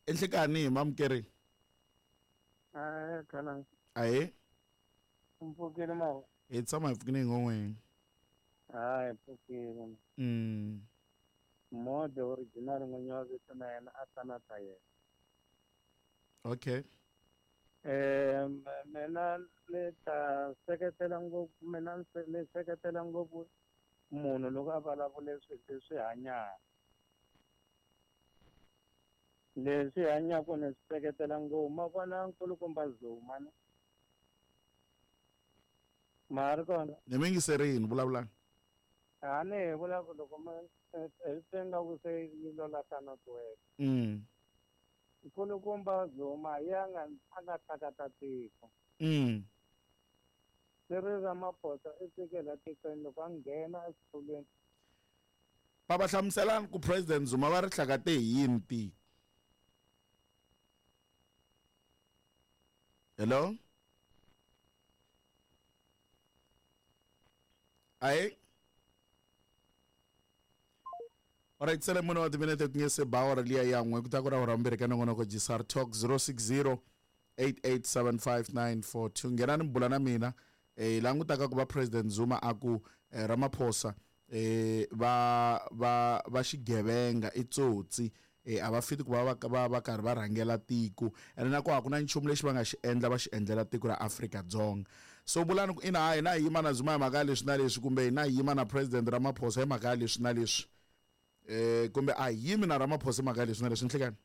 Enhlekani hi mamukeri. Ahee khalangi. Ahee. U mpfukile mawa? Hi tshama hi pfukile hi ngon'weni. Hayi hi pfukile. Mode original n'winyi wa vito na yena a ta na ta yena. Okay. Mina ni ta seketela ngopfu mina ni seketela ngopfu munhu loko a vulavule swilo leswi hanyaka. Leswi hanyaka ni swi seketela ngopfu. Ma vona nkulukumba Zuma ni? Ma ha ri kona? Ni mi yingiserini, vulavulani. A ni hi vula ku loko ma hi twe nga ku se yi lo lahla network. Nkulukumba Zuma hi yena a nga hlakata tiko. Cyril Ramaphosa i fike la tikweni loko a nghena exitulwini. Baba hlamuselani ku President Zuma va ri hlakate hi yini tiko. Hello? Ayi. Alright, sele mune wa timinete ku nge se ba awara liya ya n'we ku ta ku ra awara mbirhi ka nongonoko Gsar Talk 060 8875942 nghenani mi bula na mina eh langutaka ku va President Zuma a ku eh, Ramaphosa eh va va va xigevenga i tsotsi eh a va fiti ku va va va va karhi va rhangela tiko ene na ku a ku na nchumu lexi va nga xi endla va xi endlela tiko ra Afrika-Dzonga so vulani ku ina hayi hina hi yima na Zuma hi mhaka ya leswi na leswi kumbe hina hi yima na President Ramaphosa hi mhaka ya leswi na leswi eh kumbe a hi yimi na Ramaphosa hi mhaka ya leswi na leswi nhlekani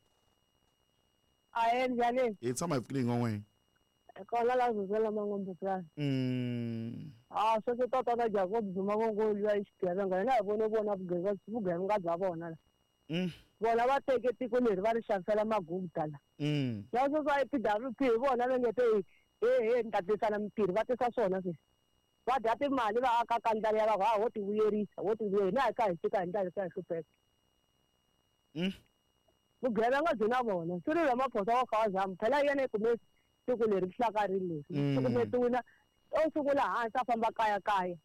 Ahee njhani? Hi tshama hi pfukile hi n'wan'wini. Kona la Zuzela Mangombe plan. Ah sweswo tatana Jacob Zuma vo ngo luya i xigevenga hina hi vone vona vugevenga vugevenga bya vona la. Vona va teke tiko leri va ri xavisela magupta la. Na sweswi va PWP hi vona va nge te he he ni ta tisa na mintirho va tisa swona sweswi. Va dya timali va aka ka ndlala ya va ku ha ho ti vuyerisa ho ti vuyerisa hina hi kha hi fika hi ndlala hi kha hi hlupheka. Vugevenga byi na vona. Cyril Ramaphosa wa kha wa zama. Phela hi yena i kume tiko leri hlakarini leri. Cukumetiwile o sungula hansi a famba kaya kaya.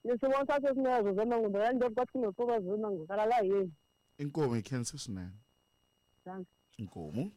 Ni swi vonisa sweswi na Zozo Mangumba ya ndzi ka swi pfuka Zozo Mangumba kala la yini. Inkomu hi khensa swinene. Thanks. Inkomu.